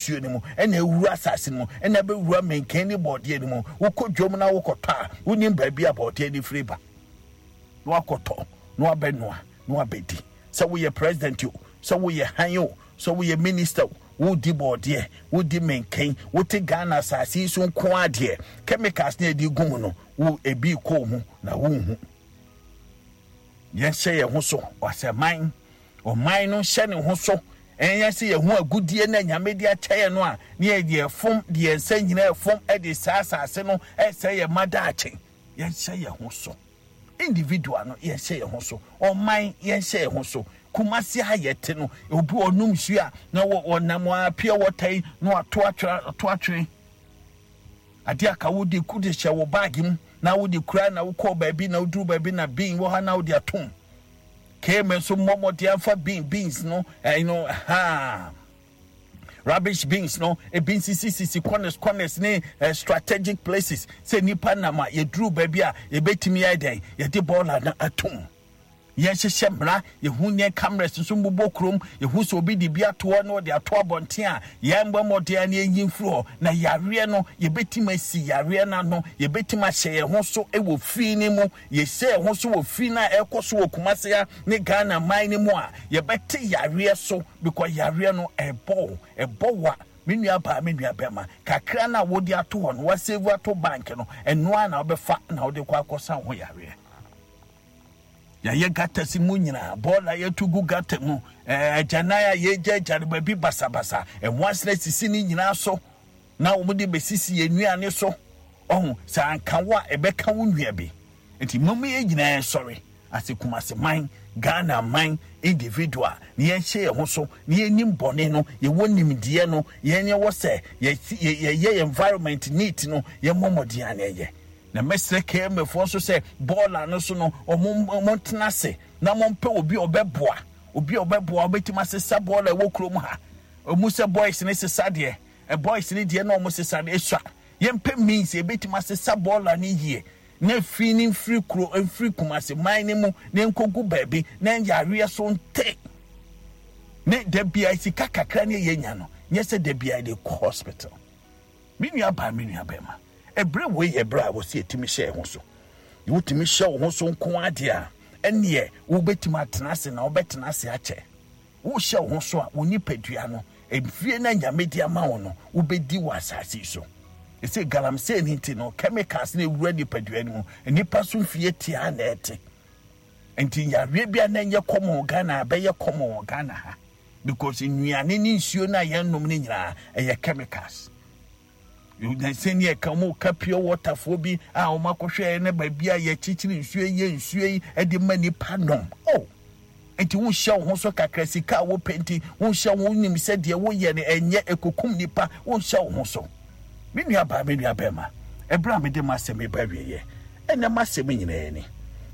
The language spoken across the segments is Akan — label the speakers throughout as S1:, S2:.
S1: nsuo no mu, ɛna ɛwura asase no mu, ɛna ɛbɛwura menken ne bɔɔdeɛ no mu. Wokɔ dwom na wokɔtɔ a, wonim baabi a bɔɔdeɛ no firi ba. Na wakɔtɔ, na wabɛnoa, na wabɛdi. Sɛ woyɛ president o, sɛ woyɛ han o, sɛ woyɛ minister o, wodi bɔɔdeɛ, wodi menken, wote Ghana asase yi so nko ara deɛ, chemicals na yɛde gu mu no, wo ebi kɔ mu na wonhu. Yɛnhyɛ yɛn ho so, ɔsɛ man, ɔman no nhyɛ ne ho so. Ɛnyɛ sɛ yɛn ho agudie na Nyame de akyɛ yɛn no a, ne yɛde ɛfom, de yɛn nsa nyinaa ɛfom de saa asase no ɛsɛ yɛn mma daakye. Yɛnhyɛ yɛn ho so. Individual no, yɛnhyɛ yɛn ho so. Ɔman, yɛnhyɛ yɛn ho so. Kumasi ha yɛte no, obi ɔnom nsuo a, na wɔnam a pure water yi na wato atwere, ato atwere. Adeɛ a ka wode ku de hyɛ wo bag mu na wode kura na wokɔɔ baabi na woduru baabi na bin wɔ ha na wode atom. Kame nso mmɔ mmɔden amfa bin beans no ɛyi no ha rubbish bins no ebi nsisisisi corners corners ne eh, strategic places sɛ nipa nam a yɛduru baabi a yɛbɛtumi ayɛ dɛn yɛde bɔɔla no atom. Yɛnhyehyɛ mmara, yɛhu nyɛ cameras nso mbobɔ kurom, yɛhu sɛ obi de bi ato hɔ na ɔde ato abɔnten a, yɛmmɔ mmɔden a na yɛnyi mfiri hɔ. Na yareɛ no, yɛbɛtumi asi yareɛ no ano, yɛbɛtumi ahyɛ yɛn ho so wɔ fi no mu. Yɛhyɛ yɛn ho so wɔ fi no a ɛrekɔ so wɔ Kumasi ha ne Ghana man no mu a, yɛbɛte yareɛ so because yareɛ no ɛbɔ wo, ɛbɔ wo a, me nua baa, me nua bɛrima, kakra no a wode ato hɔ no, wasave ato bank no, ɛno ara na wobɛfa na wode kɔ akɔsa wo ho yareɛ. Yɛayɛ gutters mu nyinaa, bɔɔla yɛtu gu gutter mu, agyanan a yɛgyaagya no baabi basabasa, nwansena sisi ne nyinaa so na wɔn de bɛsisi yɛn nnuane so. Ɔho, sɛ anka wo a, ɛbɛka wo nua bi. Nti mom yɛn nyinaa nsɔre ase Kumasi man, Ghana man, individual, na yɛnhyɛ yɛn ho so, na yɛnim bɔne no, yɛwɔ nimdeɛ no, yɛn yɛwɔ sɛ yɛyɛ yɛn environment neat no, yɛmmɔ mmɔden a na yɛyɛ. Na mɛsrɛ KMA foɔ nso sɛ bɔɔla no so no wɔn wɔntena ase na wɔmpɛ obi a ɔbɛboa obi a ɔbɛboa ɔbɛtumi asesa bɔɔla ɛwɔ kurom ha. Ɔmu sɛ boys ne sesa deɛ ɛ boys ne deɛ na wɔn sesa no esua. Yɛmpɛ means yɛbɛtumi asesa bɔɔla no yie na fi ne mfiri kuro mfiri Kumasi man no mu na nkɔgu baabi na yareɛ so nte. Ne da biara sika kakra ne yɛnya no nyɛ sɛ da biara de kɔ hospital. Me nua baa, me nua bɛrima, ɛberɛ wei yɛ berɛ a ɛwɔ sɛ yɛtumi hyɛ yɛn ho so. Na wotumi hyɛ wo ho so nko ara deɛ a, ɛnneɛ wobɛtumi atena ase na wobɛtena ase akyɛ. Wohyɛ wo ho so a, wo nipadua no, mfie no a Nyame de ama wo no, wobɛdi wɔ asase yi so. Ɛsɛ galamsey no nti no, chemicals no ɛwura nipadua no mu, nnipa so mfie tiaa na ɛte. Nti yareɛ bi a na ɛnyɛ common wɔ Ghana abɛyɛ common wɔ Ghana ha. Because nnuane ne nsuo no a yɛnom no nyinaa ɛyɛ chemicals. Sɛnea ɛka wɔn ka pure water foɔ bi a wɔn akɔhwɛ ne baabi a yɛkyekyere nsuo yɛ nsuo yi de ma nipa nom. Oh, nti wonhyɛ wo ho so kakra sika a wopɛ nti wonhyɛ wo nim sɛ deɛ woyɛ no ɛnyɛ ekokum nipa wonhyɛ wo ho so. Me nua baa me nua bɛrima ɛberɛ a mede m'asɛm reba awieɛ ɛnɛ m'asɛm nyinaa ni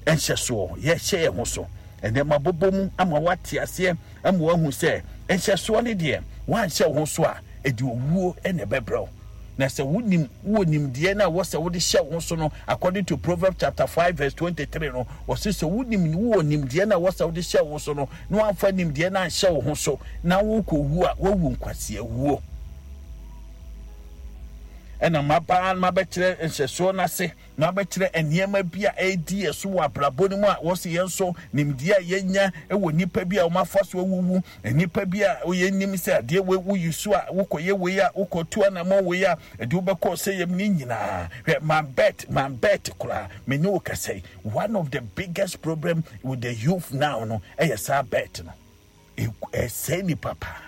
S1: nhyɛsoɔ yɛhyɛ yɛn ho so ɛnɛ mabobɔ mu ama woate aseɛ ama woahu sɛ nhyɛsoɔ ne deɛ woanhyɛ wo ho so a ɛde owuo na ɛbɛbrɛ wo na sɛ wonim wowɔ nimdeɛ no a wɔ sɛ wode hyɛ wo ho so no according to Proverbs chapter 5 verse 23 no wɔse sɛ wonim wowɔ nimdeɛ no a wɔ sɛ wode hyɛ wo ho so no na woamfa nimdeɛ no anhyɛ wo ho so na wokɔwu a woawu nkwaseawuo. Ɛna maba mabɛkyerɛ nhyɛsoɔ no ase, mabɛkyerɛ nneɛma bi a ɛredi yɛn so wɔ abrabɔ no mu a wɔsi yɛn nso nimdeɛ a yɛnya wɔ nnipa bi a wɔafa so awuwu, nnipa bi a yɛnim sɛ adeɛ wei woyi so a wokɔyɛ wei a wokɔtu anamɔ wei a ɛde wobɛkɔ sɛ yɛm ne nyinaa. Hwɛ mambɛt mambɛt koraa me ne wo kasa yi, one of the biggest problem with the youth now no ɛyɛ saa bet no, ɛsɛe nipa paa.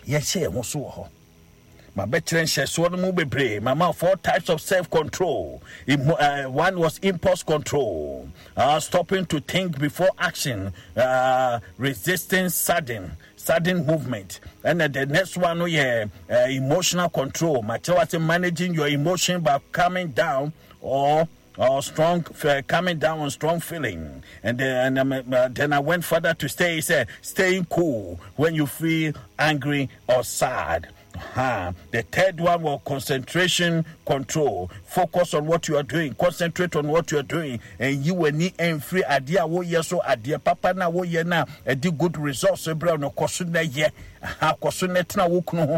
S1: Yɛhyɛ yɛn ho so wɔ hɔ. Mabɛkyerɛ nhyɛsoɔ no mu bebree. Mama four types of self-control. One was impulse control, stopping to think before action, resisting sudden movement. And then the next one, oh yeah, emotional control. Makyerɛ wase managing your emotion by calming down or strong coming down on strong feeling. And then I went further to stay, say, staying cool when you feel angry or sad. Uh-huh. The third one was concentration control. Focus on what you are doing. Concentrate on what you are doing. And you will need and free idea wo yes so idea papa na wo ye na a good results ebra no koso na ye. Aha koso na tena wo kunu ho.